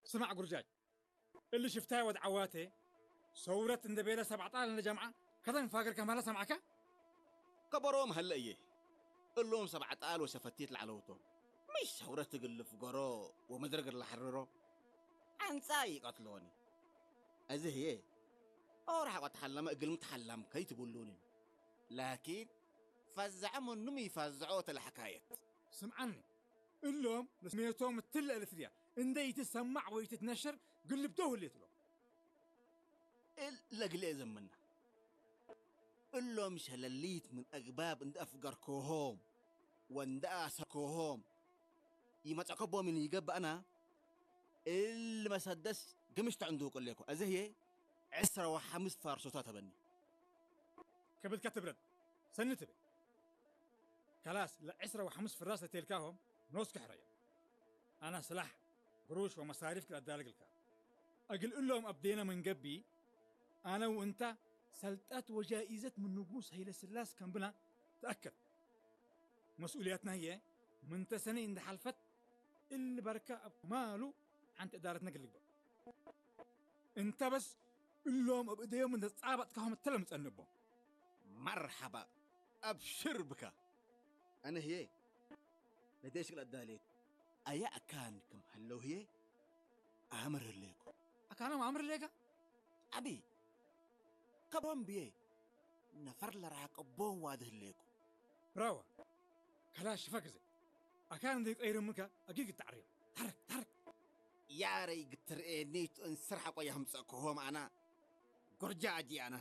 ስማዕ ጉርጃጅ፣ እሊ ሽፍታይ ወድ ዓዋቴ ሰውረት እንደ ቤለ ሰብዓ ጣል እንደ ጀምዓ ከተን ፋገር ከማለ ሰማዕካ? ከበሮም ሀለ እየ። እሎም ሰብዓ ጣል ወሸፈቲት ለዓለውቶም። ምሽ ሰውረት እግል ልፍገሮ ወመድረግ ለሐርሮ። አንጻ ይቀትሎኒ። እዚ ህየ ኦር ሐቆ ተሐለመ እግልም ተሐላም ከይትብሉኒ። ላኪን ፈዘዐ ምኑም ይፈዘዖ ተለሐካየት። ስምዓኒ፣ እሎም ለስሜቶም እትለ እልፍድያ እንደ ይትሰማዕ ወይ ትትነሸር ግልብዶ ህሌት እሎም። እል ለግሌ ዘምና። እሎም ሸለሊት ምን አግባብ እንደ አፍገርኮሆም ወእንደ አሰኮሆም ይመጸከቦምን ይገብአና። እል መሰደስ ግምሽ ተዕንዱ ቅሌኮ። እዚ ህየ ዕስራ ወሐምስ ፋርሶታ ተበኒ። ከብድካ ትብረድ፣ ሰኒ ትብል። ከላስ ለዕስራ ወሐምስ ፍራስ ለቴልካሆም ኖስ ክሕረዮም። አና ስላሕ፣ ግሩሽ ወመሳሪፍ ክለዳልግልካ። እግል እሎም አብዴነ መንገቢ፣ አነ ወእንታ ሰልጣት ወጃኢዘት ምን ንጉስ ሀይለ ስላስ ከምብና ተአከድ። መስኡልያትና ህየ ምንተ ሰነ እንደ ሐልፈት እሊ በርከ እብ ከማሉ ሐንቲ እዳረትነ ግልግበ። እንተ በስ እሎም እብ እደዮም እንደ ጻባጥካሆም እተለ ምጸንቦም። መርሐባ፣ አብሽር ብካ። አነ ህየ ለዴሽ ክል አዳሌት አያ አካን ክም ሀለው ህየ አምር ህሌኩ። አካኖም አምር ህሌካ? አቢ ከቦም ብዬ ነፈር ለራቀቦም ዋድህ ሌኩ። ብራዋ ከላሽ ፈግዘ አካን እንደ ቀይርምካ አጊግ ታዕሪም። ታረክ ታረክ። ያረይ ግትርኤ ኔቱ እንስር ሐቆ ያምጸኩሆም አና ጎርጃ አጂ አና።